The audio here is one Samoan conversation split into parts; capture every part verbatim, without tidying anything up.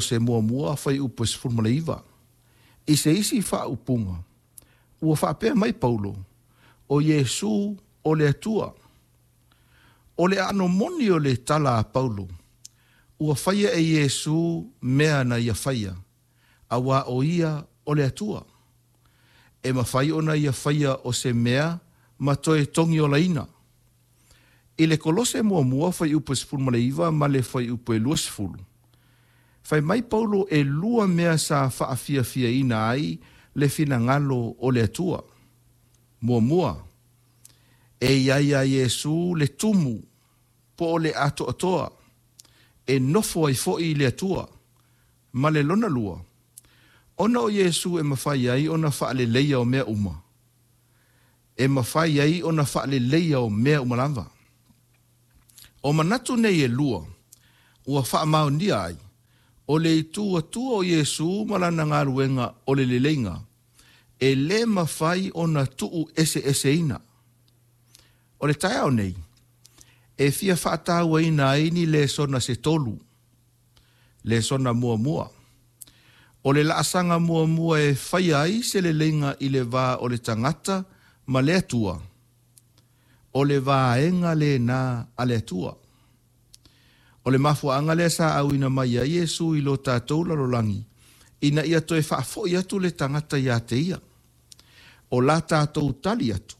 Se muamua fuaiupu e sefulu ma le iva. I se isi faaupuga, ua faapea mai Paulo, o Iesu o le Atua. O le aano moni o le tala a Paulo, ua faia e Iesu mea na ia faia, auā o ia o le Atua. E mafai ona ia faia o se mea ma toe togiolaina. I le Kolose muamua fuaiupu e sefulu ma le iva ma le fuaiupu e luasefulu, fai mai Paulo e lua mea sa faafiafiaina ai le finagalo o le Atua. Muamua, e i ai ia Iesu le tumu po o le atoatoa e nofo ai foi le Atua. Ma le lona lua, ona o Iesu e mafai ai ona faaleleia o mea uma. E mafai ai ona faaleleia o mea uma lava. O manatu nei e lua, ua faamaonia ai, o le itu Atua o Iesu ma lana galuega o le leleiga, e lē mafai ona tuu eseeseina. O le taeao nei, e fia faatauaina ai ni lesona se tolu. Lesona muamua. O le laasaga muamua e faia ai se leleiga i le va o le tagata ma le Atua. O le vaega lena a le Atua. O le mafuaaga lea sa auina mai ai Iesu i lo tatou lalolagi, ina ia toe faafoi atu le tagata ia te ia. O la tatou tali atu,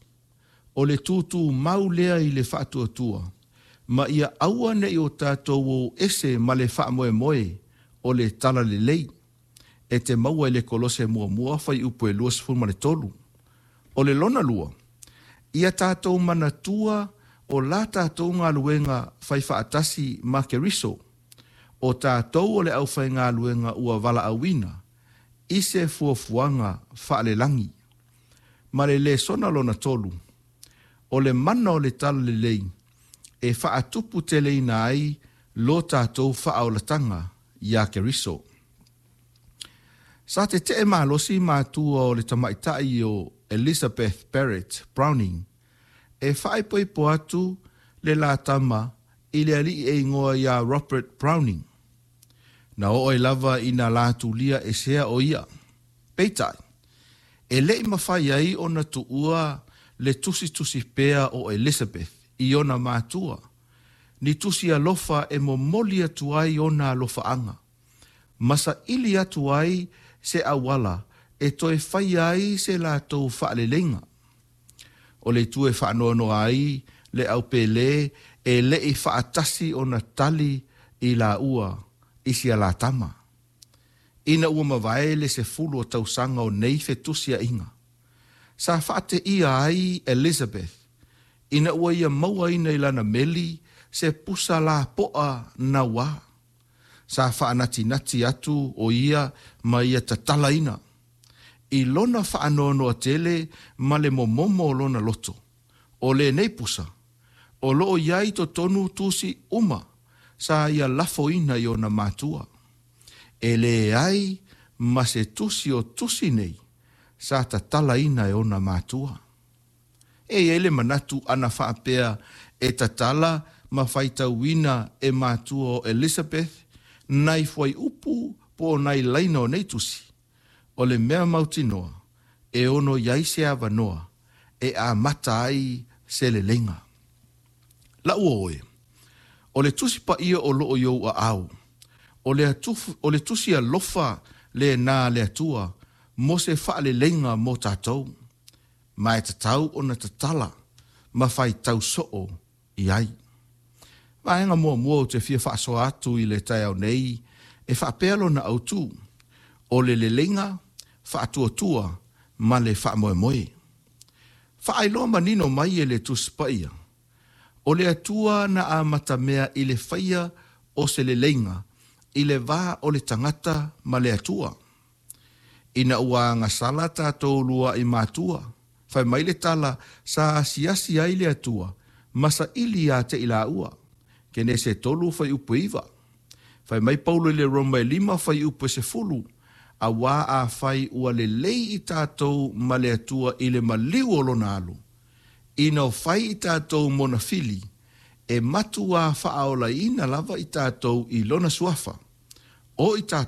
o le tutumau lea i le faatuatua, ma ia aua nei o tatou o ese ma le faamoemoe o le talalelei, e te maua i le Kolose muamua fuaiupu e luasefulu ma le tolu. O le lona lua, ia tatou manatua o la tatou galuega fai faatasi ma Keriso, o tatou o le aufaigaluega ua valaauina i se fuafuaga faalelagi. Ma le lesona lona tolu, o le mana o le talalelei e faatuputeleina ai lo tatou faaolataga ia Keriso. Sa tetee malosi matua o le tamaitai o Elizabeth Barrett Browning e faaipoipo atu le la tama i le alii e igoa ia Robert Browning. Na oo ai lava ina latulia esea o ia. Peitai, e lei mafai ai ona tuua le tusitusi pea o Elizabeth i ona matua, ni tusi alofa e momoli atu ai ona alofaaga, ma saili atu ai se auala e toe faia ai se latou faaleleiga. O le itu e faanoanoa ai le aupele e lei faatasi ona tali i laua i sia la tama. Ina ua mavae le sefulu o tausaga o nei fetusiaiga, sa faateia ai Elizabeth ina ua ia mauaina i lana meli se pusa lapoa nauā. Sa faanatinati atu o ia ma ia tatalaina i lona faanoanoa tele ma le momomo o lona loto. O lenei pusa, o loo i ai totonu tusi uma sa ia lafoina i ona matua. E leai ma se tusi o tusi nei sa tatalaina e ona matua. E i ai le manatu ana faapea e tatala ma faitauina e matua o Elizabeth nai fuaiupu po o nai laina o nei tusi. O le mea mautinoa e ono i ai se avanoa e amata ai se leleiga. Lau oe, o le tusi paia o loo i ou aao, o le, atufu, o le tusi alofa lena a le Atua mo se faaleleiga mo tatou, ma e tatau ona tatala ma faitau soo i ai. Vaega muamua ou te fia faasoa atu i le taeao nei e faapea lona autu, o le leleiga, faatuatua ma le faamoemoe. Faailoa manino mai e le Tusi Paia, o le Atua na amatamea i le faia o se leleiga i le va o le tagata ma le Atua. Ina ua agasala tatou luai matua, fai mai le tala sa asiasi ai le Atua ma saili ia te i laua. Kenese tolu fuaiupu e iva. Fai mai Paulo i le Roma e lima fuaiupu e sefulu, auā afai ua lelei i tatou ma le Atua i le maliu o lona alo, ina o fai i tatou mona fili, e matuā faaolaina lava i tatou i lona suafa. O i tatou.